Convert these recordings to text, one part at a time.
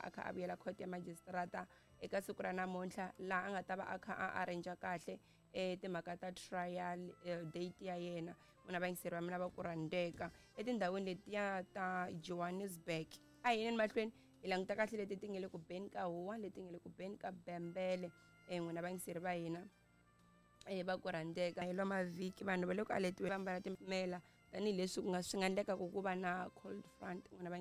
a kha a vuyela court ya magistrata eka siku ra namuntlha laha a nga ta va a kha a arrange kahle timhaka ta trial date ya yena. N'wina vayingiseri va mina va ku rhandzeka etindhawini letiya ta Johannesburg, a hi yineni mahlweni hi languta kahle leti ti nge le ku beni ka huwa, leti nge le ku beni ka bembele. N'wina vayingiseri va hina va ku rhandzeka, hi lwa mavhiki vanhu va le ku aletiwe va ambala timela tanihileswi ku nga swi nga endleka ku va na cold front. N'wina va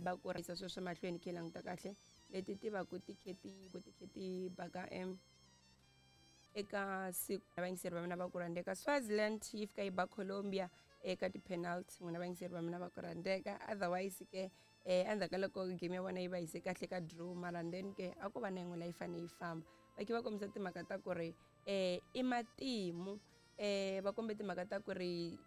va ku rhisa sweswo mahlweni khe languta kahle leti ti va ku ti khe ti ku ti khe ti baka eka siku. Vayingiseri va mina va ku rhandzeka, Swaziland yi fika yi ba Colombia eka ti-penalty. N'wina vayingiseri va mina va ku rhandzeka, otherwise ke endzhaku ka loko game ya vona yi va yise kahle ka draw, mara then ke a ko va na yin'we leyi fanele yi famba. Va khe va kombisa timhaka ta ku ri i matimu, va kombe timhaka ta ku ri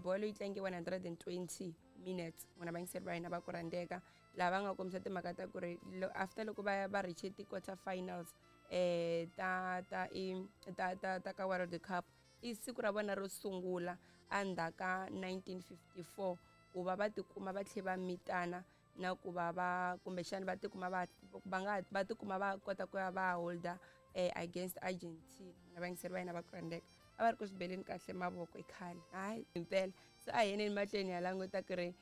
bolo yi tlange 120 minutes. N'wina vayingiseri va hina va ku rhandzeka, laha va nga kombisa timhaka ta ku ri after loko va va reach ti-quarter finals ta ta i ta ta ta ka World Cup, i siku ra vona ro sungula endzhaku ka 1954 ku va va tikuma va tlhe va mitana na ku va va kumbexana va tikuma va va nga va tikuma va kota ku ya va holda against Argentina. Na vayingiseri va hina va ku rhandzeka, a va ri ku swi beleni kahle mavoko i khale, hayi impela. Se a hi yeneni mahlweni ya languta ku ri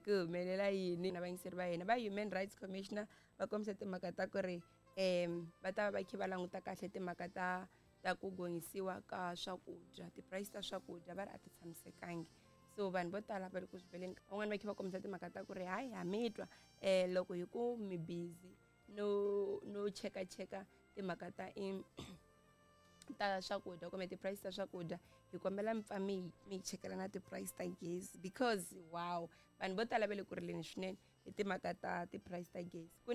ku humelela yini. Na vayingiseri va hina va Human Rights Commissioner va kombisa timhaka ta ku ri va ta va va kha va languta kahle timhaka ta ku gonyisiwa ka swakudya, ti-price ta swakudya va ri a ti tshamisekangi. So vanhu vo tala va le ku swi beleni, van'wani va kha va kombisa timhaka ta ku ri hayi, ha mi twa loko hi ku mi busy no chekacheka timhaka ta i ta swakudya kumbe ti-price ta swakudya, hi kombela mi pfa mi chekela na ti-price ta gezi, because wow, vanhu vo tala va le ku rileni swinene hi timhaka ta ti-price ta gezi. Ku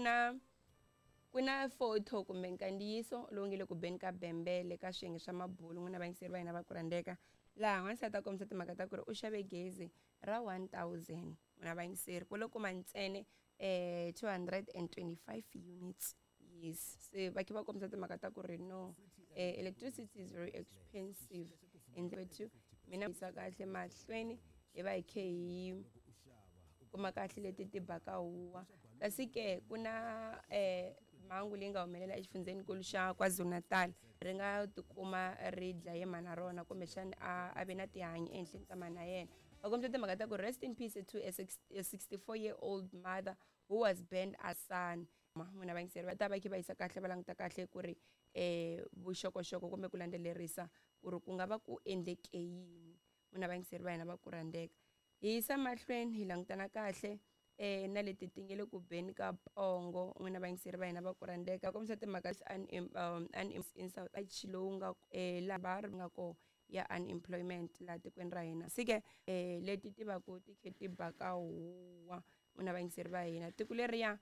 na photo kumbe nkandziyiso lowu nge le ku beni ka bembele ka swiyenge swa mabulu. N'wina vayingiseri va hina va ku rhandzeka, laha n'wansati a kombisa timhaka ta ku ri u xave gezi ra 1000. N'wina vayingiseri, ku lo kuma ntsena 225 units. Yes, se va khe va kombisa timhaka ta ku ri no, electricity is very expensive. Endlethu mina yisa kahle mahlweni hi va hi khe hi kuma kahle leti ti baka huwa. Kasi ke ku na mhangu leyi nga humelela exifundzhenikulu xa KwaZulu-Natal, ri nga tikuma ri dlaye mhana rona, kumbexana a ve na tihanyi ehenhleni ka mhana yena. Va kombisa timhaka ta ku rest in peace to a 64-year-old mother who was burned a son. N'wina vayingiseri, va ta va khe va yisa kahle va languta kahle ku ri vuxokoxoko kumbe ku landzelerisa ku ri ku nga va ku endleke yini. N'wina vayingiseri va hina va ku rhandzeka, hi yisa mahlweni hi langutana kahle na leti ti nge le ku beni ka pongo. N'wina vayingiseri va hina va ku rhandzeka, kombisa timhaka in South lowu nga laha va ri nga ko ya unemployment laha tikweni ra hina. Se ke leti ti va ku ti khe ti baka huwa. N'wina vayingiseri va hina, tiko leriya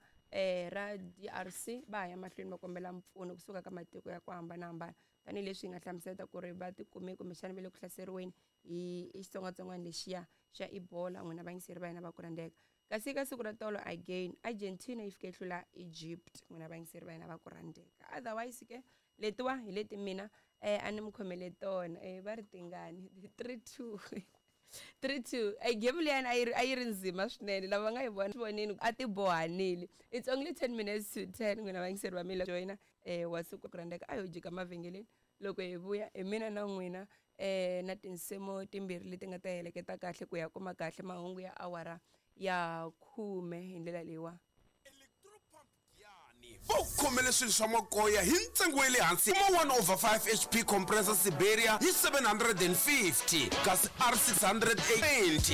ra DRC va ha ya mahlweni va kombela mpfuno kusuka ka matiko ya ku hambanahambana, tanihileswi hi nga hlamusela ku ri va tikume kumbexana va le ku hlaseriweni hi xitsongwatsongwana lexiya xa Ebola. N'wina vayingiseri va hina va ku rhandzeka, kasi ka siku ra tolo again Argentina yi fike yi hlula Egypt. N'wina vayingiseri va hina va ku rhandzeka, otherwise ke letiwa hi leti mina a ni mi khomele tona. Va ri tingani 3-2, 3-2. E game liyani a yi ri nzima swinene, lava nga yi vona vonini a ti bohanile. It's only 10 minutes to 10. N'wina vayingiseri va mina, joyina wa siku ku rhandzeka, a yo jika mavhengeleni. Loko hi vuya hi mina na n'wina na tinsimu timbirhi leti nga ta heleketa kahle ku ya kuma kahle mahungu ya awara ya 10 hi ndlela leyiwa. Va ku khomele swilo swa makoya hi ntsengo wa le hansi. Kuma 1 over 5 HP compressor Siberia hi 750, kasi R620.